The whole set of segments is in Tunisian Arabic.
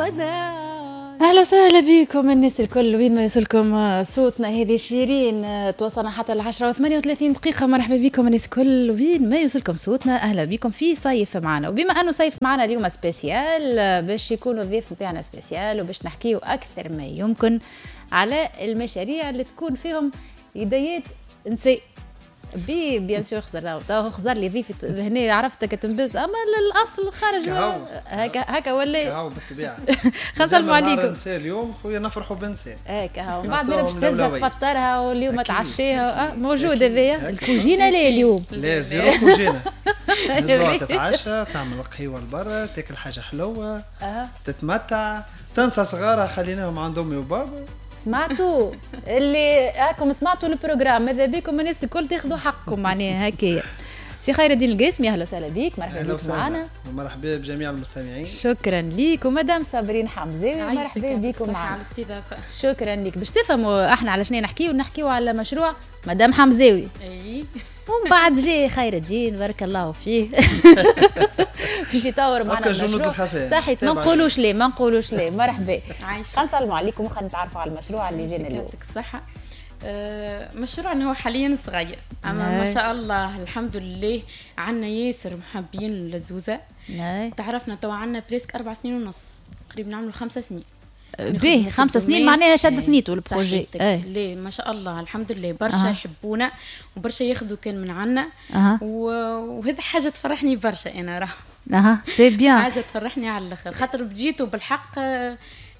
الوداع. اهلا وسهلا بكم الناس الكل وين ما يوصلكم صوتنا. هذه شيرين توصلنا حتى 10:38. مرحبا بكم الناس الكل وين ما يوصلكم صوتنا. اهلا بكم في صيف معنا، وبما انه صيف معنا اليوم spécial باش يكونوا الضيف نتاعنا spécial، وباش نحكيو اكثر ما يمكن على المشاريع اللي تكون فيهم يديات نساء. bien sûr خزر خزر لي ضيفي هنا عرفتك تنبز، اما للاصل خارج هكا هكا ولا كهو بالطبيعة. خلينا نسلموا عليكم. نساء اليوم خويا نفرحوا بنساء هكا، ومن بعد باش تهزها تفطرها واليوم تعشيها. موجود هذايا الكوجينه. لا اليوم لا zéro كوجينه. تتعشى، تعمل قهوة لبرا، تاكل حاجة حلوة، تتمتع، تنسى صغارها خليناهم عند امي وبابا. سمعتوا اللي هاكم سمعتوا ال programme، ماذا بيكم الناس الكل تاخذوا حقكم معناها هكايا. سي خير الدين القاسمي اهلا وسهلا بيك، مرحبا بك معنا. مرحبا بجميع المستمعين. شكرا ليك. ومدام صابرين حمزاوي مرحبا بكم معنا على الاستضافة. شكرا لك. باش تفهموا احنا على شنو نحكيو، نحكيو على مشروع مدام حمزاوي. اي ومن بعد جاي خير الدين بارك الله فيه باش يطور معنا المشروع. صحيح، ما نقولوش ليه، ما نقولوش ليه. مرحبا. خلينا نسلموا عليكم وخلينا نتعرفوا على المشروع اللي جانا اليوم. يعطيك الصحة. مشروعنا هو حاليا صغير، اما ما شاء الله الحمد لله عندنا ياسر محبين للزوزه. تعرفنا توا عندنا presque 4.5 سنين، قريب نعملوا 5 سنين. به 5 سنين معناها شد ثنيتو ال projet. ليه ما شاء الله الحمد لله برشا يحبونا وبرشا ياخذوا كان من عنا. وهذا حاجة تفرحني برشا انا راه. c'est bien، حاجة تفرحني على الاخر، خاطر بديتو بالحق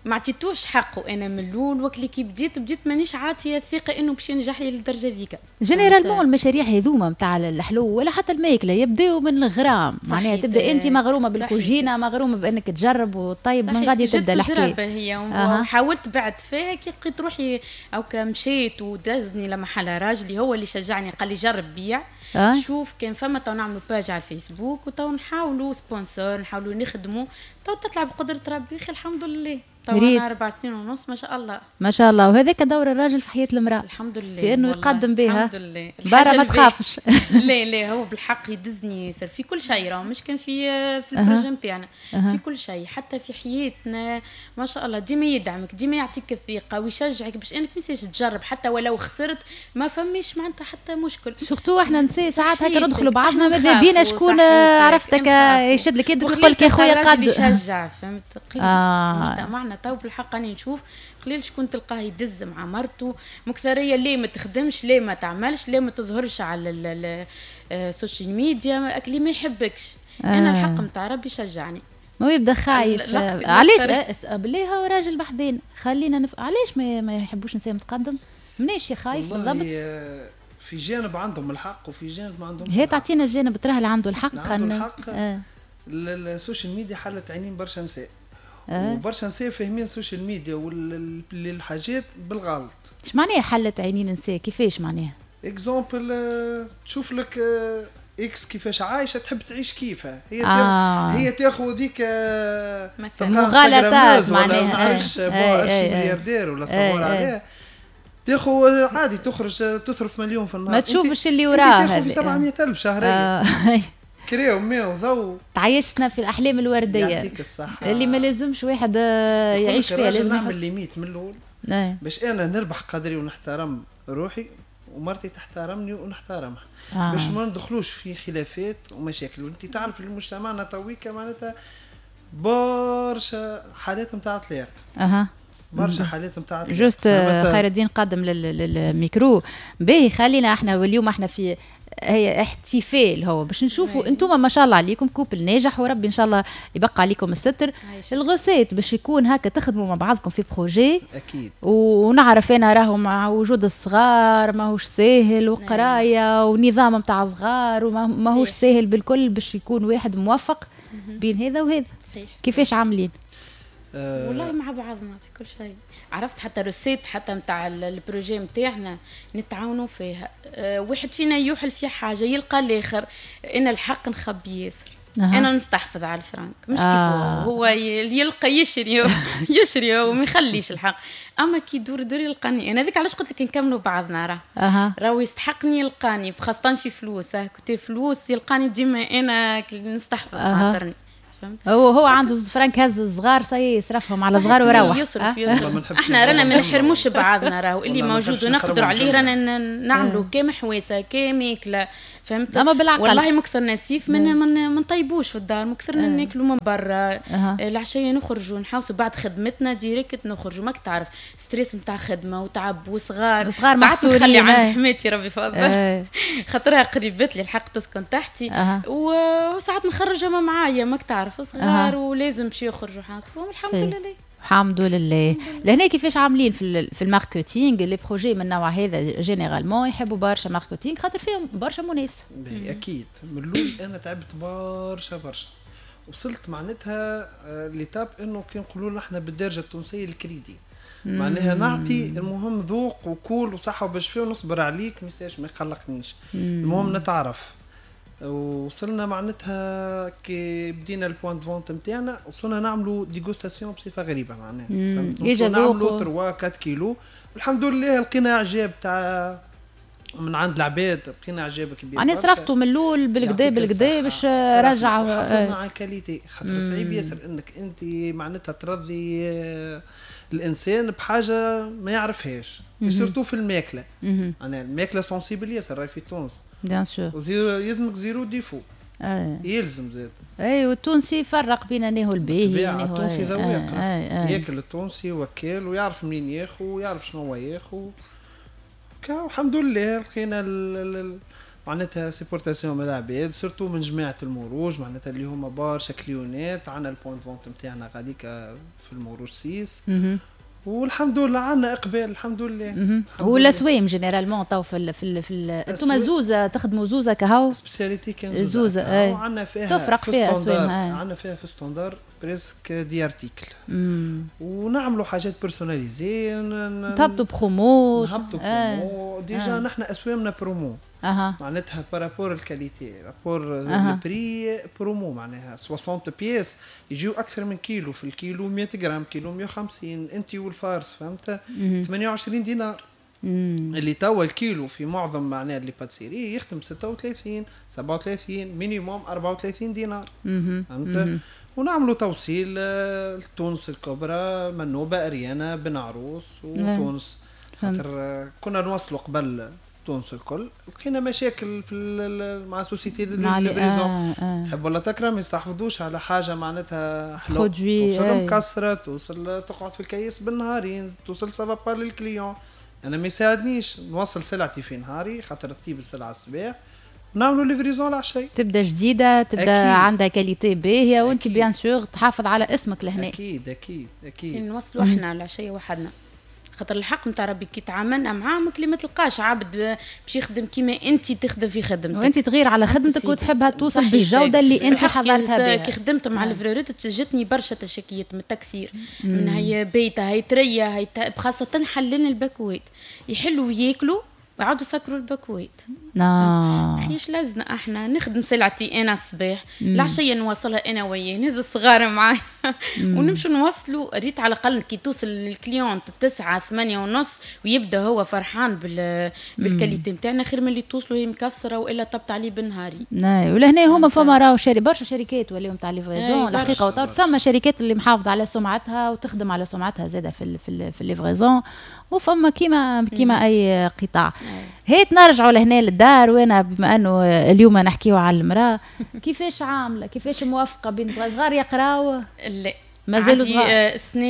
ما عطيتوش حقه انا من الاول. وكلي كي بديت مانيش عاطيه الثقة انه باش ينجح لي للدرجة ذيك. généralement المشاريع هذوما نتاع الحلو ولا حتى الماكلة يبداو من الغرام، معناها تبدا انت مغرومه بالكوجينه، مغرومه بانك تجرب وطيب، من غادي تبدا الحكاية. هي وحاولت بعد فيها كي لقيت روحي او مشيت ودزني لمحل راجلي هو اللي شجعني، قال لي جرب بيع. شوف كان فما تو نعملوا page على الفيسبوك وتو نحاولوا sponsor، نحاولوا نخدموا تو تطلع بقدره ربي. الحمد لله تو 4.5 سنين ما شاء الله. ما شاء الله. وهذاك دور الراجل في حياة المرأة الحمد لله، في انه يقدم بها. الحمد لله برا ما تخافش. لا لا هو بالحق يدزني ياسر في كل شيء، راه مش كان في ال projet نتاعنا، في كل شيء حتى في حياتنا ما شاء الله ديما يدعمك، ديما يعطيك الثقة ويشجعك باش انك ما تجرب حتى ولو خسرت ما فماش معناتها حتى مشكل. surtout احنا نساء ساعات هكا ندخلوا بعضنا ماذا بينا شكون عرفتك يشد لك يدك ويقول لك يا خويا قد يشجع، فهمت؟ مجتمعنا تو بالحق راني نشوف قليل شكون تلقاه يدز مع مرته مكثريه، ليه ما تخدمش، ليه ما تعملش، ليه ما تظهرش على ال social media، اكلي ما يحبكش. انا الحق نتاع ربي شجعني. ما يبدا خايف علاش بالله هو راجل بحذين خلينا علاش ما يحبوش نساء متقدم؟ مناش خايف بالضبط؟ في جانب عندهم الحق وفي جانب ما عندهمش. هي تعطينا الجانب تراه اللي عنده الحق. عنده الحق. ال social media حلت عينين برشا نساء. وبرشا نساء فاهمين ال social media والحاجات بالغلط. اش معناها حلت عينين نساء؟ كيفاش معناها؟ exemple تشوف لك X كيفاش عايشه تحب تعيش كيفها هي. هي تاخذ ذيك مغالطات معناها، ما نعرفش ملياردير ولا صور عليها، تاخذ عادي تخرج تصرف مليون في النهار، ما تشوفش اللي وراها. تاخذ في 700,000 شهرية. كريم ماء وضوء. تعيشنا في الاحلام الوردية. يعطيك الصحة اللي ما لازمش واحد يعيش فيها. لازم نعمل limite من الاول باش انا نربح قدري ونحترم روحي ومرتي تحترمني ونحترمها. باش ما ندخلوش في خلافات ومشاكل. وانت تعرف المجتمعنا تويكا معناتها برشا حالات نتاع طلاق. برشا حالات نتاع juste. خير الدين قدم للميكرو. باهي خلينا احنا واليوم احنا في هي احتفال هو باش نشوفوا انتم ما شاء الله عليكم couple ناجح وربي ان شاء الله يبقى عليكم الستر. ال recette باش يكون هكا تخدموا مع بعضكم في projet اكيد. ونعرف انا راهو مع وجود الصغار ماهوش ساهل، وقرايه ونظام نتاع صغار وماهوش ساهل بالكل باش يكون واحد موفق بين هذا وهذا. صحيح. كيفاش عاملين؟ والله مع بعضنا في كل شيء. عرفت حتى recette حتى نتاع ال projet نتاعنا نتعاونوا فيها. واحد فينا يوحل في حاجة يلقى الاخر. انا الحق نخبي ياسر. انا نستحفظ على الفرنك مش كيف هو يلقى يشري يشري وما يخليش الحق. اما كي دور دور يلقاني انا. هذيك علاش قلت لك نكملوا بعضنا. راه راهو يستحقني يلقاني، خاصة في فلوس. كنت فلوس يلقاني ديما انا نستحفظ خاطرني. فهمت. هو عنده فرانك هز الصغار يصرفهم على صغار وروح. يصرف احنا رانا ما نحرموش بعضنا، راهو اللي موجود ونقدروا عليه رانا نعملوا كمحواسه كماكله فهمت. اما بالعقل والله مكثر نسيف من ما نطيبوش في الدار، مكثرنا ناكلوا من برا. العشية نخرجوا نحوسوا بعد خدمتنا direct نخرجوا، ماك تعرف stress نتاع خدمة وتعب وصغار، ساعات نخلي عند حماتي ربي فضل خاطرها قريبت لي الحق تسكن تحتي. وساعات نخرجها معايا، ماك تعرف صغار ولازم باش يخرجوا حاسبهم. الحمد لله الحمد لله. لهنا كيفاش عاملين في ال marketing؟ les projets من النوع هذا généralement يحبوا برشا marketing خاطر فيهم برشا منافسه. اكيد من الاول انا تعبت برشا برشا، وصلت معناتها l'étape انه كي نقولوا احنا بالدارجة التونسية الكريدي، معناها نعطي المهم ذوق وكول وصحة وباش فيه ونصبر عليك message ما يقلقنيش، المهم نتعرف. وصلنا معناتها كي بدينا ال point de vente نتاعنا وصلنا نعملوا dégustation بصفة غريبة معناها، نعملوا 3 4 كيلو الحمد لله لقينا اعجاب تاع من عند العباد، لقينا اعجاب كبير. معناها صرفتوا من الاول بالكدا بالكدا باش رجع حافظنا على ال qualité، خاطر صعيب ياسر انك انت معناتها ترضي الانسان بحاجة ما يعرفهاش، surtout في الماكلة. معناها الماكلة sensible ياسر راهي في تونس bien sûr، يلزمك zéro défaut. يلزم زاد. اي والتونسي يفرق بين انه الباهي التونسي ذواق، ياكل التونسي وكال ويعرف منين ياخو ويعرف شنو هو ياخو. الحمد لله لقينا معناتها supportation من العباد، surtout من جماعة المروج معناتها اللي هما برشا client ات. عندنا ال point de vente نتاعنا غاديك في المروج six، والحمد لله عندنا اقبال الحمد لله. والاسوام généralement تو في انتم زوزه تخدموا زوزه كهو spécialité كان زوزه وعندنا فيها تفرق فيها اسوام، عندنا فيها في standard presque dix articles، ونعملوا حاجات personnalisées، نهبطوا برومو، نهبطوا promo. déjà نحن اسوامنا برومو. معناتها par rapport ال qualité rapport ال prix promo، معناها 60 pièces يجيو اكثر من كيلو، في الكيلو 100 غرام، كيلو 150 انت وال farce فهمت، 28 دينار. اللي توا الكيلو في معظم معناها les pâtisseries يخدم 36 37 minimum 34 دينار فهمت. ونعملوا توصيل لتونس الكبرى، منوبه، اريانا، بن عروس وتونس، خاطر كنا نوصلوا قبل تونس الكل، لقينا مشاكل في مع société livraison. تحب ولا تكره ما يستحفظوش على حاجة معناتها حلو، توصل مكسرة، توصل تقعد في الكيس بالنهارين، توصل ça va pas لل client. انا ما يساعدنيش نوصل سلعتي في نهاري خاطر تطيب السلعة الصباح نعملوا livraison العشية، تبدا جديدة، تبدا أكيد. عندها qualité باهيه، وانت bien sûr تحافظ على اسمك لهنا. اكيد اكيد اكيد نوصلوا احنا العشية وحدنا، خاطر الحق نتاع ربي كي تعاملنا معاهم اللي ما تلقاش عبد باش يخدم كيما انت تخدم في خدمتك، وانت تغير على خدمتك وتحبها توصل بالجودة اللي انت حضرتها بها. كي خدمت مع ال livreur جتني برشا تشكيات من التكسير، من هي بيته هي تريه هي خاصة حلين الباكوات يحلوا وياكلوا ويعاودوا سكروا الباكوات. خيش لازنا احنا نخدم سلعتي انا الصباح، العشية نوصلها انا وياه، نهز الصغار معايا ونمشوا نوصلوا. ريت على الاقل كي توصل لل client 9 8:30 ويبدا هو فرحان بال qualité نتاعنا، خير من اللي توصلوا هي مكسرة والا طبت عليه بالنهاري. ولهنا هما فما راهو برشا شركات ولاو نتاع livraison الحقيقة، ثم شركات اللي محافظة على سمعتها وتخدم على سمعتها زاده في ال livraison، وفما كيما اي قطاع. هيت نرجعوا لهنا للدار، وانا بما انه اليوم نحكيو على المراة، كيفاش عامله، كيفاش موافقة بين صغار يقراو؟ لا مازالوا صغار. السنة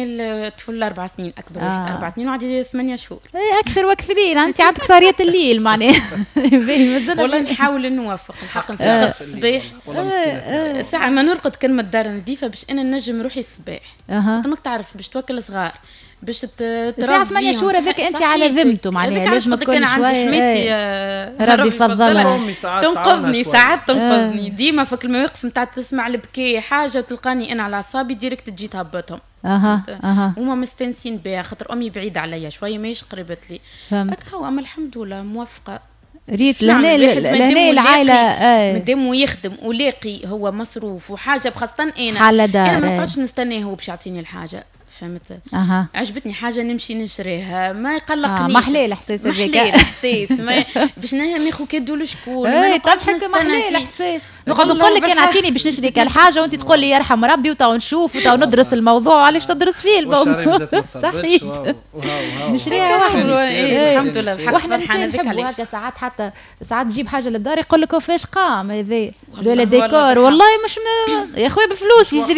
الطفل 4 سنين، اكبر واحد 4 سنين وعندي 8 شهور. اكثر واكثرين، انت عندك سهريه الليل معناها. والله نحاول نوافق الحق، نفيق الصباح ساعة ما نرقد كان ما الدار نظيفة باش انا نجم روحي الصباح. ماك تعرف باش توكل صغار باش تربي ساعة 8 شهور هذاك انت على ذمته معناها لازم تكون عندي حماتي ربي يفضلها، تنقذني ساعات تنقذني ديما فك المواقف نتاع تسمع البكاء حاجة تلقاني انا على اعصابي direct تجي تهبطهم. هما مستانسين بها خاطر امي بعيدة عليا شوية ماهيش قريبت لي هكا. اما الحمد لله موافقة. ريت لهنا العائلة مادام يخدم ولاقي هو مصروف وحاجه، خاصة انا ما نقعدش نستناه هو باش يعطيني الحاجة. فهمت؟ عجبتني حاجة نمشي نشريها، ما يقلقنيش. ما حلال الاحساس هذاك. ما الاحساس، ما باش ناخذ cadeau لشكون، ما نقعدش نستنى فيه. الاحساس نقعد نقول لك انا اعطيني باش نشري الحاجة وانت تقول لي يرحم ربي وتو نشوف وتو ندرس الموضوع. علاش تدرس فيه الموضوع؟ صحيح، نشريها وحدي. الحمد لله. واحنا نحبوا هكا ساعات، حتى ساعات تجيب حاجة للدار يقول لك فاش قام هذا ولا ديكور، والله مش يا خويا بفلوس يشري.